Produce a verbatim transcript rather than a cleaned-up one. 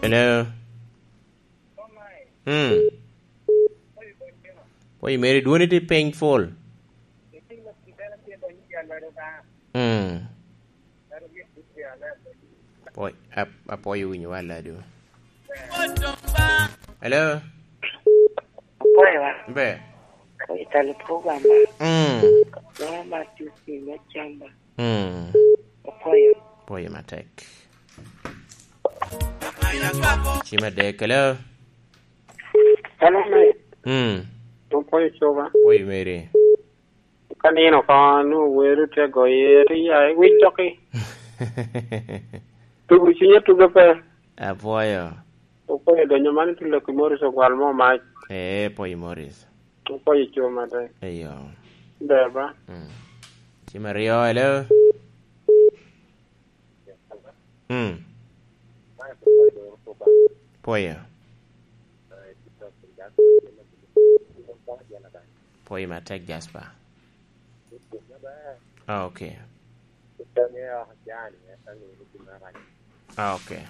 Hello. Hmm. Pwoyo meri, dwoni tye piny full. Hmm. Pwoy-, ap-, apwoyo winyo wa ladu. Hello. Apwoyo wa. Be. Apwoyo talo program ba. Hmm. Mama Matthew King Acamba. Hmm. Apwoyo. Apwoyo matek. Ci me adek, hello. Hello, mate. Hmm. Apwoyo coba. Apwoyo meri. Ka nino oko, nwoŋo welo tye goye, tye ya, iwic doki. Tugo cwinye tugo pe. Apwoyo. Apwoyo donyo man i tulo ki Morris ogwal mo mac. Ee, apwoyo Morris. Apwoyo cuma te. Eyo. Ber ba. Mm. Ci me aryo, hello. Mm. Pwoyo. Pwoyo matek, Jasper. Ah, okay. Ah, okay.